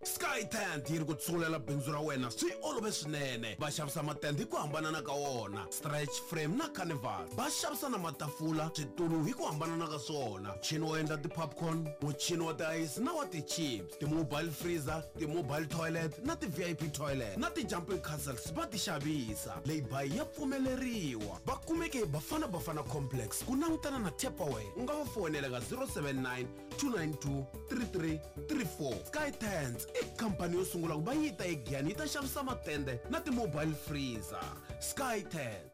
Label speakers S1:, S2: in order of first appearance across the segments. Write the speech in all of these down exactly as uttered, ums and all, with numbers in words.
S1: Sky Tent yi ri ku tsungulela bindzu ra wena swi olove swinene. Va xavisa matende hi ku hambanana ka wona, stretch frame na carnival. Va xavisa na matafula, switulu hi ku hambanana ka swona, muchini wo endla ti-popcorn, muchini wa tiayisi na wa ti-chips, ti-mobile freezer, ti-mobile toilet na ti-V I P toilet na ti-jumping castles va ti xavisa. Lay-by ya pfumeleriwa. Va kumeke hi Bafana Bafana Complex ku langutana na Tupperware. U nga va foyinela ka zero seven nine two nine two three three three four. Sky Tents i khampani yo sungula ku va yi ta eGiyani yi ta xavisa matende na ti-mobile freezer. Sky Tent.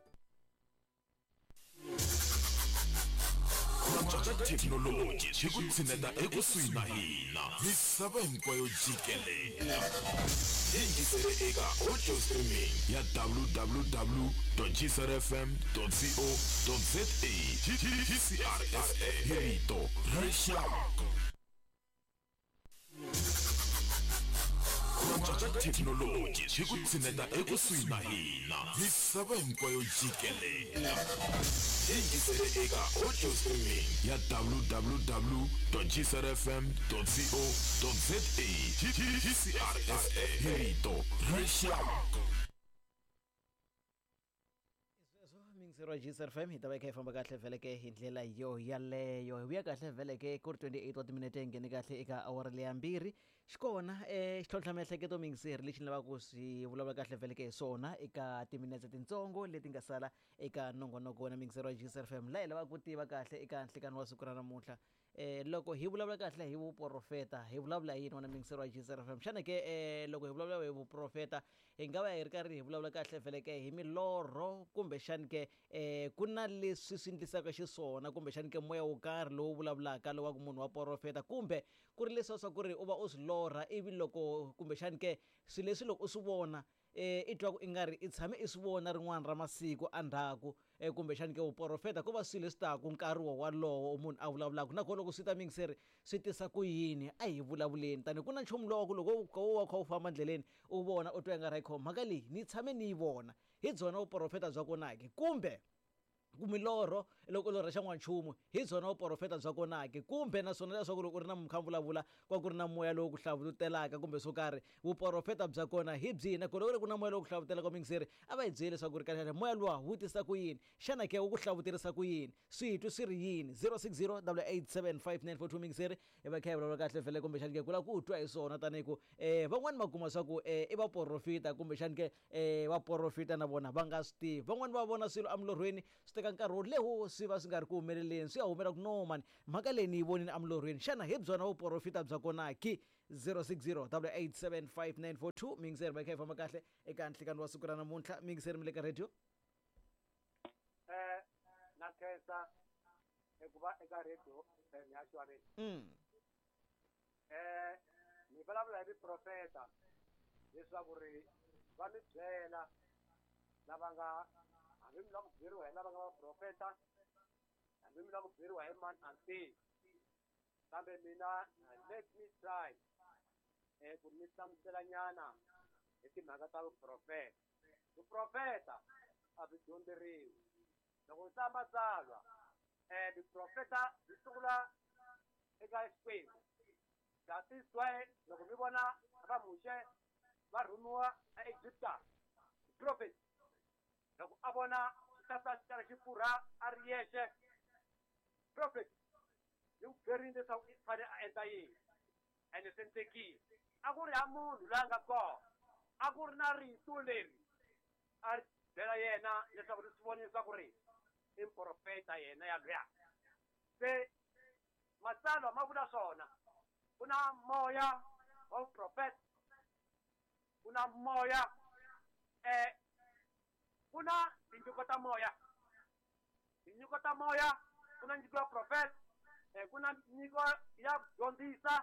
S2: Ku cinca ka thekinoloji swi ku tshineta ekusuhi na hina misava hinkwayo jikelele. Yingisele eka audio streaming ya W W W dot G C R F M dot co dot za. G C R F M, hi rito ra rixaka. Ku cinca ka thekinoloji swi ku tshineta ekusuhi na hina misava hinkwayo jikelele. Yingisele eka audio streaming ya W W W dot G C R F M dot co dot za. G C R F M, hi rito ra rixaka.
S3: Sweswo miyingiseri wa G C R F M, hi ta va hi kha hi famba kahle vheleke hi ndlela yo yaleyo. Hi vuya kahle vheleke ku ri twenty-eight wa timinete, hi nghene kahle eka awara leya mbirhi. Xikona um xitlhontlha miehleketo, miyingiseri, lexi ni lavaka ku swi vulavula kahle vheleke hi swona eka timinetse tintsongo leti nga sala eka nongonoko wena miyingiseri wa G C R F M, laha hi lavaka ku tiva kahle eka nhlikani wa siku ra namuntlha, eh loko hi vulavula kahle hi vuprofeta, hi vulavula hi yini, wena miyingiseri wa G C R F M? Xana ke eh loko hi vulavula hi vuprofeta, hi nga va hi ri karhi hi vulavula kahle vheleke hi milorho, kumbexani ke eh ku na leswi swi endlisaka xiswona, kumbexani ke moya wo karhi lowu vulavulaka lowu wa ku munhu wa profeta, kumbe ku ri leswiya swa ku ri u va u swi lorha, ivi loko kumbexani ke swilo leswi loko u swi vona, eh i twa ku i nga ri i tshame i swi vona rin'wana ra masiku endzhaku, eh kumbexani ke vuprofeta ko va swilo leswi taku nkarhi wo walowo munhu a vulavulaka nakona? Loko swi ta, mingiseri, swi tisa ku yini? A hi vulavuleni tani ku na nchumu lowu ku loko wo wa kha u famba ndleleni, u vona, u twa i nga ri hayi, mhaka leyi ni tshame ni yi vona, hi byona vuprofeta bya kona ke, kumbe milorho, loko u lorha xan'wanchumu, hi byona vuprofeta bya kona ke, kumbe naswona leswaku loko u ri na mukha vulavula kwa ku ri na moya lowu ku hlavutelaka kumbe swo karhi, vuprofeta bya kona hi byihi? Nakona loko ku ri ku na moya lowu ku hlavutelaka, mingiseri, a va hi byeli leswaku ri kahle moya luwa wu tisa ku yini? Xana ke wu ku hlavuterisa ku yini? Switwi swi ri yini? zero six zero eight eight seven five nine four two, mingiseri, hi va kha hi vulavula kahle vhele kumbexani ke ku lava ku twa hi swona, tanihi ku um van'wani va kuma swa ku um i vaprofita, kumbexani ke um vaprofita na vona va nga swi tivi. Van'wani va vona swilo emilorhweni, swi teka nkarhi wo leho swi va swi nga ri ku humeleleni, swi ya humela ku no mani, mhaka leyi ni yi vonile emilorhweni. Xana hi byona vuprofita bya kona ki? zero six zero eight eight seven five nine four two, mingiseri, va kha hi famba kahle eka nhlikani wa siku ra namuntlha. Mingiseri, mi le ka radio.
S4: eh na khensa eku va eka radio F M ya Xwaneni.
S3: mm.
S4: eh ni vulavula hi vuprofeta leswaku ri va mi byela lava nga, hambi mi lava ku byeriwa hi lava nga vaprofeta, hambi mi lava ku byeriwa hi mani, a tivi, kambe mina let me try eh ku mi hlamusela nyana hi timhaka ta vuprofeta. Vuprofeta a byi dyondzeriwi. Loko u hlaya matsalwa, eh vuprofeta byi sungula eka Xikwembu. That is why loko mi vona va Muxe va rhumiwa aEgipta, prophet loko a vona xihlahla xi karhi xi pfurha a ri yexe, prophet yi n'wi byerile leswaku i fanele a endla yini, ene swi endlekile. A ku ri ha munhu loyi a nga kona, a ku ri na rito leri a ri byela yena leswaku ri swi vona leswaku ri i muprofeta yena ya luya. Se matsalwa ma vula swona, ku na moya wa vuprofeta, ku na moya, eh ku na tinyiko ta moya, tinyiko ta moya, ku na nyiko ya profeta, eh ku na nyiko ya ku dyondzisa,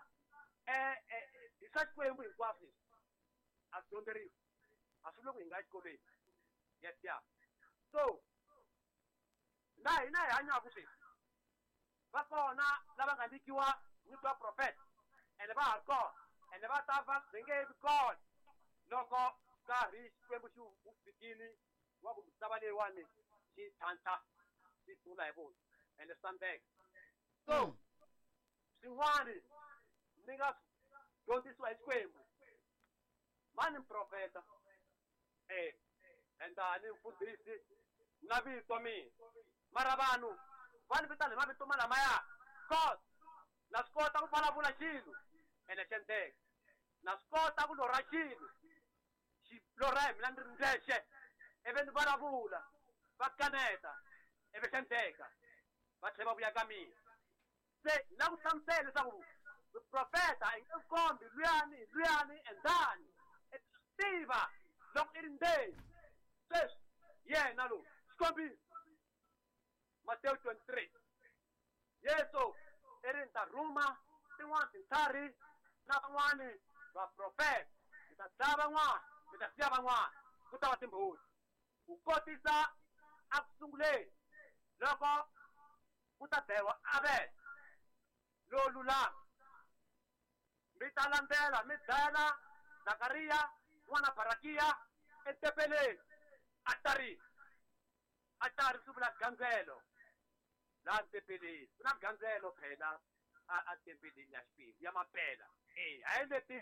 S4: eh eh hi swa Xikwembu hinkwaswo. Leswi a swi dyondzeriwi, a swi loko hi nga exikolweni. Yes, ya. So laha hina hi hanyaka sweswi, va kona lava nga nyikiwa nyiko ya profeta, ene va ha ri kona, ene va ta va va nge vi kona loko nkarhi Xikwembu xi wu fikile wa ku misava leyiwani xi tlhantlha, xi sungula hi vona, ene swi ta. So swin'wani mi nga swi dyondzisiwa hi Xikwembu. Mani profeta eh endani mfundhisi na vito mina mara vanhu va ni vitana hi mavito malamaya cause na swi kota ku vulavula xilo ene xi endleka na swi kota ku lorha xilo xi lorha hi mina ni ri ndzexe ivi ni vulavula va kaneta ivi xi endleka va tlhela va vuya ka mina se na ku hlamusela leswaku vuprofeta i nge kombi luyani luyani endani i tiva loko i ri ndzeni sweswi yena lowu xikombiso Matewu twenty-three Yesu i ri ni ta rhuma tin'wana tintlhari na van'wani vaprofeta mi ta dlaya van'wana mi ta siya van'wana ku ta va timbhoni ku kotisa a ku sunguleni loko ku ta dlayiwa Abele lowo lulama mi ta landzela mi dlayela Zakariya n'wana Barakiya etempeleni atarini atari swi vula gandzelo laha tempeleni ku na gandzelo phela a a tempeleni ya Xikwembu ya mampela e hayi leti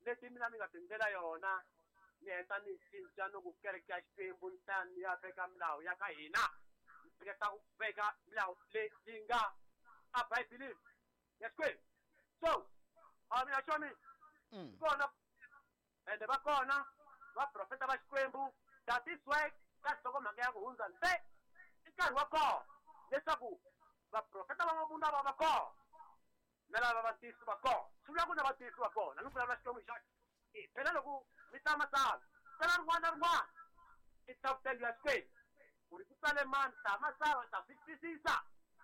S4: leti mina ni nga tindlela yona ni heta ni cinca ni ku kereke ya Xikwembu ni ta ni ya veka milawu ya ka hina ni hleketa ku veka milawu leyi yi nga a Bibeleni ya Xikwembu so a mina xomi kona ende va kona vaprofeta va Xikwembu that is why ka nhlokomhaka ya ku hundza nte i nkarhi wa kona leswaku vaprofeta va mavunwa va va kona na lava va tiyisi va kona swi vula ku na vatiyisi va kona ni vulavula Xikwembu xa e phela loko mi ta matsalwa tsala rin'wana na rin'wana i hlavutelo ya Xikwembu ku ri ku tsale mani hlaya matsalwa i ta swi twisisa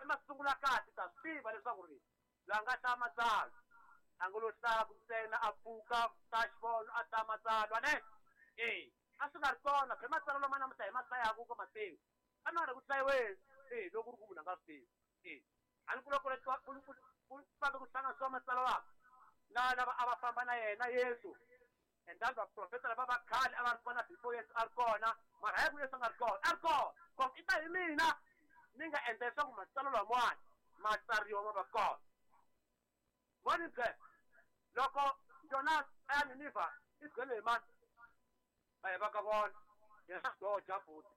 S4: i masungulo ya kahle i ta swi tiva leswaku ri loyi a nga hlaya matsalwa a ngo lo hlaya ku ntsena a pfuka ta xivono a hlaya matsalwa ne e a swi nga ri kona phela matsalwa lama namuntlha hi ma hlayaku ka Matewu a na ri ku hlayiweni e loko ku ri ku munhu a nga swi tivi e a ni ku loko ku fambe ku hlanganisiwa matsalwa lama na lava a va famba na yena Yesu and then vaprofeta lava va khale a va ri kona before Yesu a ri kona mara hayi ku Yesu a nga ri kona a ri kona cause i ta hi mina ni nga endla leswaku matsalwa lamawani ma tsariwa ma va kona voni byela loko Jonas a ya Ninivha i byele hi mani a hi va ka vona yena doja futhi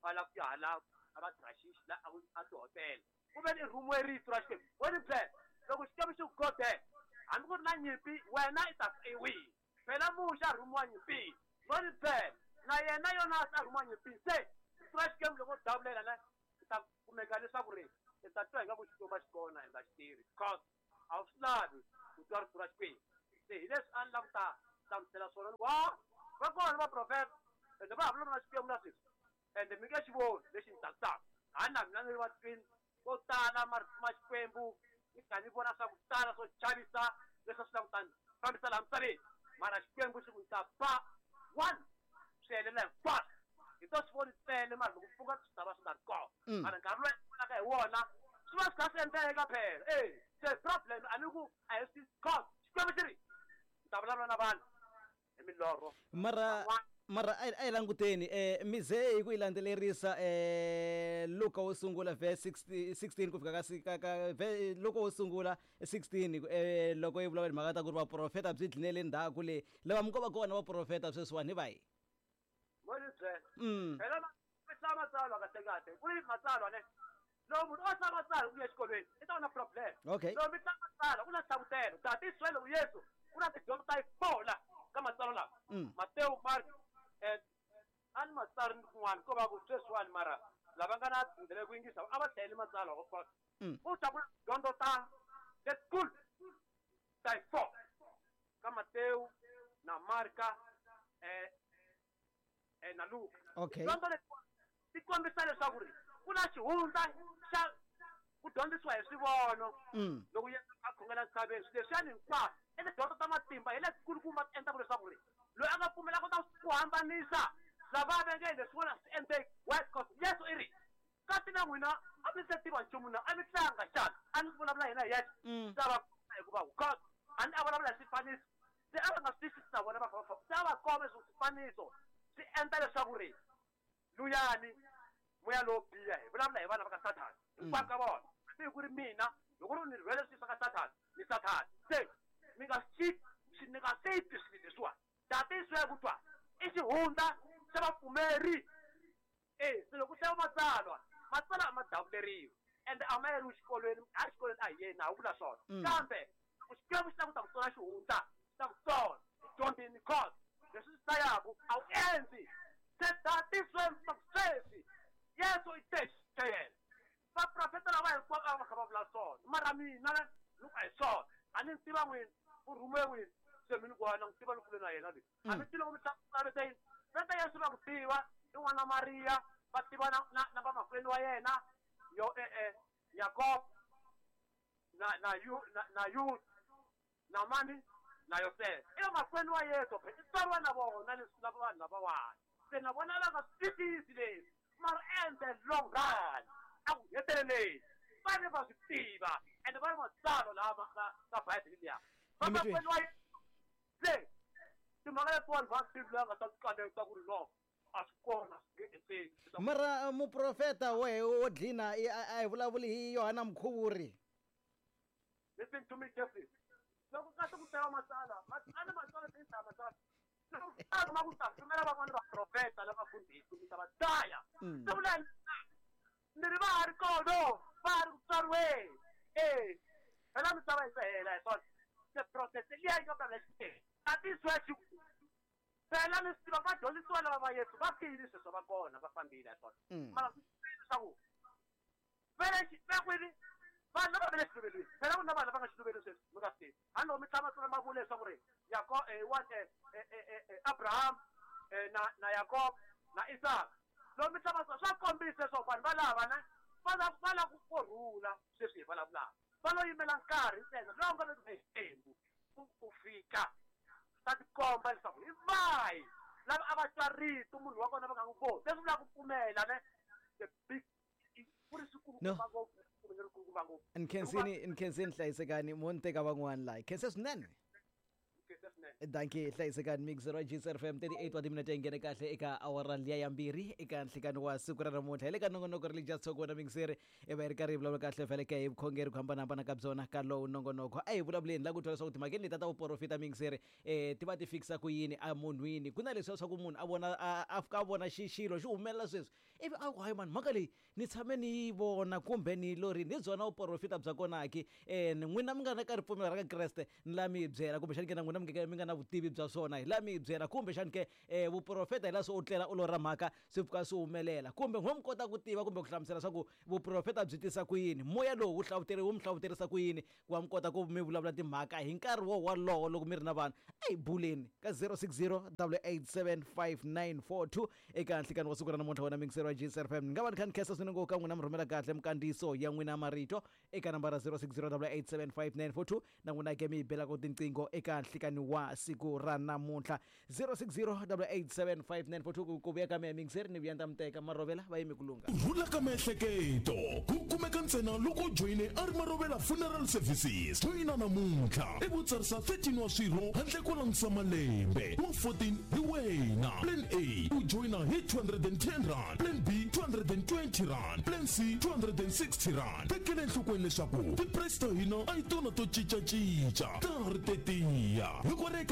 S4: a lava ku ya hala a va Trashish la a tihotela ku ve ni rhumiwe rito ra Xikwembu voni byela loko Xikwembu xi ku godela hambi ku ri na nyimpi wena i ta i wihi phela Muxe a rhumiwa nyimpini voni byela na yena Yonasi a rhumiwa nyimpini se rito ra Xikwembu loko davulela ne i ta kumeka leswaku ri i ta twa ingaku Xikwembu a xi kona i nga xi tivi because a wu swi lavi ku twa rito ra Xikwembu se hi leswi a ni lava ku ta hlamusela swona wa va kona vaprofeta ende va ha vulavula na Xikwembu na sweswi ende mi nge xi voni lexi ni tsakisaka hayi na mina ni ri vatwini ko tala marito ma Xikwembu ni kha ni vona swa ku tala swo chavisa leswi a swi lava ku ta ni fambisa laha misaveni mara Xikwembu xi ku ni ta ba one swi helela hinkwaswo hi to swi voni ntsena mara loko pfuka swi ta va swi nga ri kona mara nkarhi lowu vonaka hi wona swi va swi kha swi endleka phela e se problem a ni ku a hi swi cause Xikwembu xi ri ni ta vulavula na vanhu hi milorho
S3: mara mara a hi languteni eh mi ze hi ku yi landzelerisa eh Luka wo sungula verse sixteen ku fika ka ka Luka wo sungula sixteen eh loko yi vulavula mhaka ta ku ri vaprofeta byi dlinele ndzhaku le lava mi ko va kona vaprofeta sweswiwani hi vahi
S4: voni byela phela mi hlaya matsalwa kahle kahle ku ri matsalwa ne loko munhu o hlaya matsalwa ku ya exikolweni i ta va na problem
S3: okay
S4: loko mi hlaya matsalwa ku na hlavutelo that is why loko Yesu ku na tidyondzo ta yi-four la ka matsalwa lawa Matewu Mark eh a ni matsari ni kun'wana ko va ku sweswiwani mara lava nga na ndlela ku yingisa a va hlayeli matsalwa of course u ta ku dyondzo ta letikulu ta yi-four ka Matewu na Marka eh eh na Luka
S3: okay
S4: dyondzo leti ti kombisa leswaku ri ku na xihundla xa ku dyondzisiwa hi swivono loko Yesu a khongela ntshaveni swilo leswiyani hinkwaswo i tidyondzo ta matimba hi letikulukumba ti endlaka leswaku ri loyi a nga pfumela kota ku hambanisa lava va nge leswin'wana swi endleki why because Yesu i ri kasi na n'wina a mi se tiva nchumu na a mi tlanga xana a ni vulavula yena hi yexe ta va hikuva because a ni a vulavula hi swifaniso se a va nga swi twisisi na vona va fa se a va komba leswaku swifaniso swi endla leswaku ri luyani moya lowo biha hi vulavula hi vana va ka Sathana hinkwavo ka vona hambi hi ku ri mina loko ri ni rhwele swilo swa ka Sathana ni Sathana se mi nga swi ni nga swi twi swilo leswiwani That is where ku twa i xihundla xa vapfumeri. E se loko ku hlaya matsalwa, matsalwa a ma davuleriwi ende a ma yeriwi xikolweni, a xikolweni a hi yeni a wu vula swona. Kambe loko Xikwembu xi ta ku ta ku tsona xihundla, xi ta ku tsona dyondzini cause leswi swi hlayaku a wu endli. Se that is where sweswi Yesu i te xa yena. Vaprofeta lava hinkwavo a va kha va vula swona, mara mina ni ku a hi swona. A ni tiva n'wini u rhumiwe n'wini, se mi ni ku wena n'wi tiva ni kule na yena leyi. A mi tivi loko mi hlamusela yini veta Yesu va ku tiva i n'wana Mariya, va tiva na na na vamakwenu wa yena yo eh eh Yakob na na yu na na Yuda na mani na Yosefa. I vamakwenu wa Yesu phela i tswariwa na vona leswi lava vanhu lavawani. Se na vona va nga swi twisisi leswi, mara in the long run a ku heteleleni va ne va swi tiva ende va ri matsalwa lama ka ka Bibele liya. Vamakwenu wa Yesu se timhaka letiwani va swi tivi loyi a nga ta swi kaneta ku ri no a swi kona swi nge endleki.
S3: Mara muprofeta wehe wo dlina a hi vulavuli hi Yohana Mukhuvuri.
S4: Listen to me carefully. Loko kahle ku hlaya matsalwa, a ni matsalwa ti hlaya matsalwa. Loko a ma ku ta rhumela van'wana vaprofeta lava fundhisi mi ta va dlaya. Se vula ni ri va ha ri kona, va ha ri ku tswariweni. E phela misava yi se hela hi swona. Se process liya yi nga vulavula Xikwembu. That is where xi phela mi swi tiva vadyondzisiwa lava va Yesu va file sweswo va kona va fambile hi swona. Mara swi tiva leswaku vele va kwini vanhu lava va le xiluvelweni, phela ku na vanhu lava nga xiluvelweni sweswi mi nga swi tivi. Hambi loko mi tlhela matsolo ma vula leswaku ri Yakob eh Abraham na na Yakob na Isaka, loko mi tlhela matsolo swa kombisa leswaku vanhu valava na va lava va lava ku rhula sweswi hi vulavulaka, va lo yimela nkarhi ntsena lowu nga vekiwa hi Xikwembu ku ku fika ta tikomba leswaku hi vahi lava a va twa rito munhu wa kona va nga n'wi voni. Leswi vulaka ku pfumela ne the big ku ri swikulukumba ngopfu, lerikulukumba ngopfu.
S3: Nkhensini nkhensini hlayisekani mo ni teka van'wana laha. Khense swinene. Dankie hlayisekani mixer wa G C F M thirty-eight wa timinete yi nghene kahle eka awara liya ya mbirhi eka nhlikani wa siku ra namuntlha. Hi le ka nongonoko Religious Talk wena mixer i va yi ri karhi yi vulavula kahle vhele ka hi vukhongeri ku hambanahambana ka byona ka lowu nongonoko. A hi vulavuleni la ku twa leswaku timhakeni leti ta vuporofita mixer eh ti va ti fikisa ku yini emunhwini. Ku na leswiya swa ku munhu a vona a fika a vona xilo xi humelela sweswi ivi a ku hayi mani mhaka leyi ni tshame ni yi vona kumbe ni yi lorini, hi byona vuporofita bya kona ki. Eh n'wina mi nga na ka ripfumelo ra ka Kreste ni la mi yi byela, kumbexani ke na n'wina mi nga mi nga na vutivi bya swona hi la mi yi byela, kumbexani ke eh vuprofeta hi la swo u tlela u lorha mhaka swi pfuka swi humelela, kumbe n'we mi kota ku tiva kumbe ku hlamusela swa ku vuprofeta byi tisa ku yini, moya lowu wu hlavuteri wu mi hlavuterisa ku yini ku va mi kota ku mi vulavula timhaka hi nkarhi wo wolowo loko mi ri na vanhu. A hi buleni ka zero six zero double eight seven five nine four two eka nhlikani wa siku ra namuntlha wena mixer wa G C F M. Ni nga va ni kha ni khensa swinene ngopfu ka n'wina mi rhumela kahle minkandziyiso ya n'wina marito eka nambara zero six zero double eight seven five nine four two na n'wina ke mi yi belaka tinqingho eka nhlikani wa siku ra namuntlha zero six zero double eight seven five nine four two. Ku vuya ka mehe mixer ni vuya ni ta mi teka marovela va yimi ku lungha.
S2: Rhula ka miehleketo ku kumeka ntsena loko u joyine a ri Marovela Funeral Services. Joyina namuntlha i vutsarisa thirteen wa swirho handle ko langutisa malembe wa fourteen hi wena. Plan A u joyina hi two hundred and ten rand, Plan B two hundred and twenty rand, Plan C two hundred and sixty rand. Tekela enhlokweni leswaku ti-price ta hina a hi tona to cincacinca, ta ha ri tetiya. Loko ri